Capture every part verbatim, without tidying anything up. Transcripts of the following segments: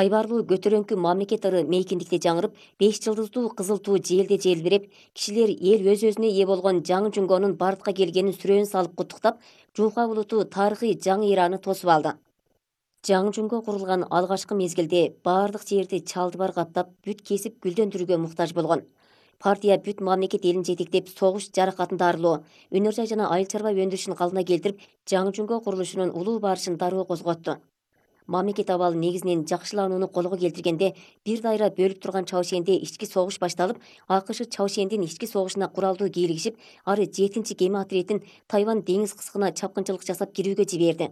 Айбарлуу көтөрөңкү мамлекет ыры мейкиндикте жаңырып, беш жылдыздуу кызыл туу желде желбиреп, кишилер эл өз өзүнө ээ болгон жаңы жунгонун бардыкка келгенин сүрөөн салып куттуктап, Жунхва булуту тарыхый жаңы эраны тосуп алды. Жаңы жунго курулган алгачкы мезгилде бардык жерди чалдыбар каптап, бүт кесип гүлдөндүрүүгө муктаж болгон. Партия бүт мамлекет элин жетектеп, согуш жаракатын дарылоо, өнөр жай жана айыл чарба өндүрүшүн калдына келтирип, жаңы жунго курулушунун улуу барышын дароо козготту. Мамлекет абалы негизинен жакшыланууну колго келтиргенде, бир дайра бөлүп турган Чаошенде ички согуш башталып, АКШ Чаошендин ички согушуна куралдуу кийлигишип, ары жетинчи кеме отрядын Тайвань деңиз кыскына чапкынчылык жасап кирүүгө жиберди.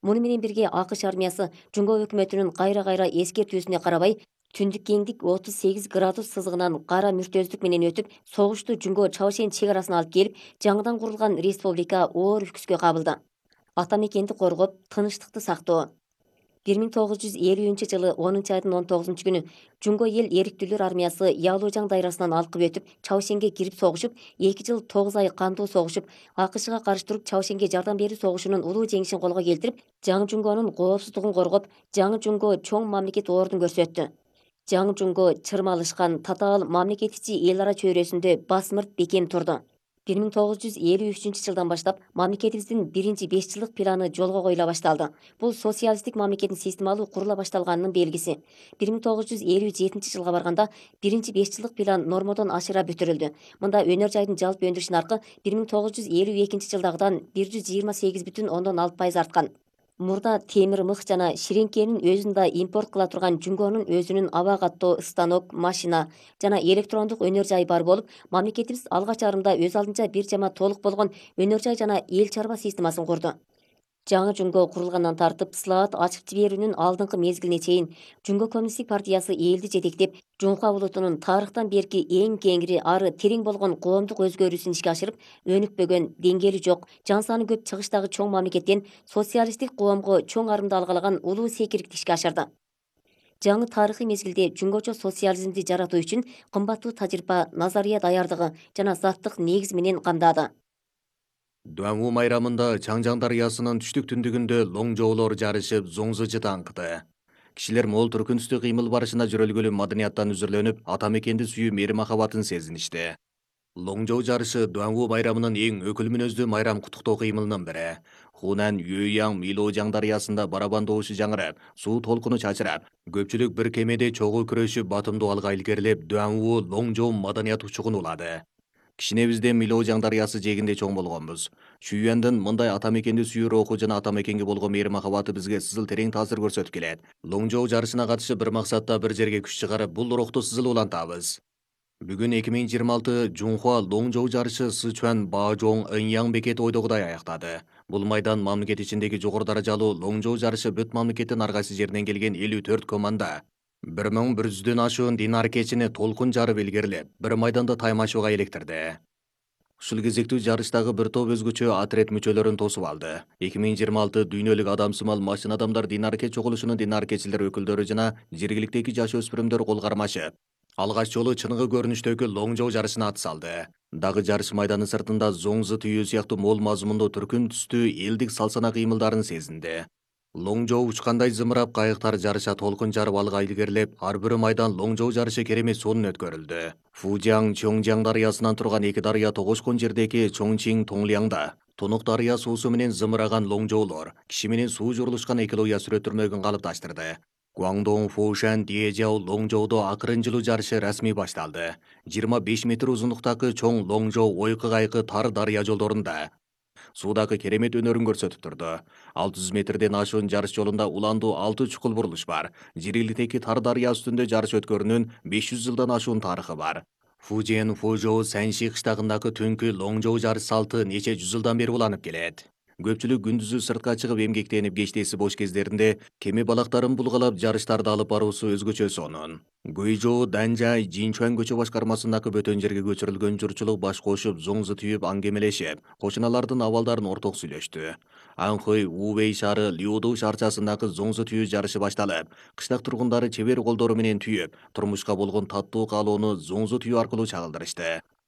Муну менен бирге АКШ армиясы Жунго өкмөтүнүн кайра-кайра эскертүүсүнө карабай, түндүк кеңдик отуз сегиз градус сызыгынан кара мүртөздүк менен өтүп, согушту Жунго Чаошен чек арасына алып келип, жаңыдан курулган республика оор үкүскө кабылды. Ата мекенди коргоп, тынычтыкты сактоо. бир миң тогуз жүз элүүнчү жылы онунчу айдын он тогузунчу күнү Жунго эл эриктүүлөр армиясы Ялужаң дайрасынан алкып өтүп, Чаошенге кирип согушуп, эки жыл тогуз ай кандуу согушуп, АКШга каршы туруп Чаошенге жардам берүү согушунун улуу жеңишин колго келтирип, жаңы Жунгонун коопсуздугун коргоп, жаңы Жунго чоң мамлекет ордун көрсөттү. Жаңы Жунго чырмалышкан татаал мамлекет ичи эл ара чөйрөсүндө басмырт бекем турду. бир миң тогуз жүз элүү үчүнчү жылдан баштап мамлекетибиздин биринчи беш жылдык планы жолго коюла башталды. Бул социалисттик мамлекеттин системалуу курула башталганынын белгиси. бир миң тогуз жүз элүү жетинчи жылга барганда биринчи беш жылдык план нормодон ашыра бүтүрүлдү. Мында өнөр жайдын жалпы өндүрүш наркы бир миң тогуз жүз элүү экинчи жылдагыдан бир жүз жыйырма сегиз бүтүн ондон алты пайыз арткан. Мурда темир мык жана ширеңкенин өзүн да импорт кыла турган Жунгонун өзүнүн аба каттоо станок, машина жана электрондук өнөр жайы бар болуп, мамлекетибиз алгач арымда өз алдынча бир жама толук болгон өнөр жай жана эл чарба системасын курду. Жаңы Жунго курулгандан тартып, слаат ачып жиберүүнүн алдыңкы мезгилине чейин Жунго коммунисттик партиясы элди жетектеп, Жунхва булутунун тарыхтан берки эң кеңири ары терең болгон коомдук өзгөрүүсүн ишке ашырып, өнүкпөгөн, деңгээли жок, жан саны көп чыгыштагы чоң мамлекеттен социалисттик коомго чоң арымды алгалаган улуу секирикти ишке ашырды. Жаңы тарыхый мезгилде жунгочо социализмди жаратуу үчүн кымбаттуу тажрыйба, назария даярдыгы жана заттык негиз менен камдады. Дуаңу майрамында Чаңжаң дарыясынын түштүк түндүгүндө лоңжоолор жарышып, зоңзу таңкыды. Кишилер мол түркүнүстүү кыймыл барышына жүрөлгөлүү маданияттан үзүрлөнүп, ата мекенди сүйүү мээри махабатын сезиништи. Лоңжоо жарышы Дуаңу майрамынын эң өкүл мүнөздүү майрам куттуктоо кыймылынын бири. Хунан Юяң Милоожаң дарыясында барабан добушу жаңырап, суу толкуну чачырап, көпчүлүк бир кемеде чогуу күрөшүп, батымдуу алга илгерилеп, Дуаңу лоңжоо маданият учугун улады. Кичинебизде Милоожаң дарыясы жээгинде чоң болгонбуз. Шүйөндүн мындай ата мекенди сүйүү руху жана ата мекенге болгон мээри махабаты бизге сызыл терең таасир көрсөтүп келет. Лоңжоо жарышына катышып бир максатта бир жерге күч чыгарып, бул рухту сызыл улантабыз. Бүгүн эки миң жыйырма алты Жунхва лоңжоо жарышы Сычуан Баожоң Ыньяң бекети ойдогудай аяктады. Бул майдан мамлекет ичиндеги жогору даражалуу лоңжоо жарышы бүт мамлекеттин ар кайсы жеринен келген элүү төрт команда бир миң бир жүздөн ашуун дин аракетчини толкун жарып илгерилеп, бир майданда таймашууга иликтирди. Ушул кезектүү жарыштагы бир топ өзгөчө отряд мүчөлөрүн тосуп алды. эки миң жыйырма алты дүйнөлүк адамсымал машина адамдар дин аракет чогулушунун дин аракетчилер өкүлдөрү жана жергиликтеги жаш өспүрүмдөр кол кармашып, алгач жолу чыныгы көрүнүштөгү лоңжоо жарышына ат салды. Дагы жарыш майданы сыртында зоңзу түйүү сыяктуу мол мазмундуу түркүн түстүү элдик салсана кыймылдарын сезинди. Лоңжоо учкандай зымырап, кайыктар жарыша толкун жарып алга илгерилеп, ар бир майдан лоңжоо жарышы керемет сонун өткөрүлдү. Фужиang Чоңжаң дарыясынан турган эки дарыя тогошкон жердеги Чоңчиң Тоңлиаңда Тунук дарыя суусу менен зымыраган лоңжоолор, киши менен суу журулушкан экология сүрөттөрмөгүн калыпташтырды. Гуаңдоң Фушан Диэжяо лоңжоодо акырын жылуу жарышы расмий башталды. жыйырма беш метр узундуктагы чоң лоңжоо ойкы-кайкы тар дарыя жолдорунда суудагы керемет өнөрүн көрсөтүп турду. алты жүз метрден ашуун жарыш жолунда уландуу алты чукул бурулуш бар. Жергиликтеги тар дарыя үстүндө жарыш өткөрүүнүн беш жүз жылдан ашуун тарыхы бар. Фужиэн Фужоу Санши кыштагындагы түнкү лоңжоо жарыш салты нече жүз жылдан бери уланып келет. Көпчүлүк күндүзү сыртка чыгып эмгектенип, кечтеси бош кездеринде кеме балактарын булгалап жарыштарды алып баруусу өзгөчө сонун. Гуйжоу Данжай Жинчуан көчө башкармасындагы бөтөн жерге көчүрүлгөн журчулук баш кошуп, зоңзу түйүп аңгемелешип, кошуналардын абалдарын орток сүйлөштү. Анхой Увей шаары Лиуду шаарчасындагы зоңзу түйүү жарышы башталып, кыштак тургундары чебер колдору менен түйүп, турмушка болгон таттуу каалоону зоңзу түйүү аркылуу чагылдырышты.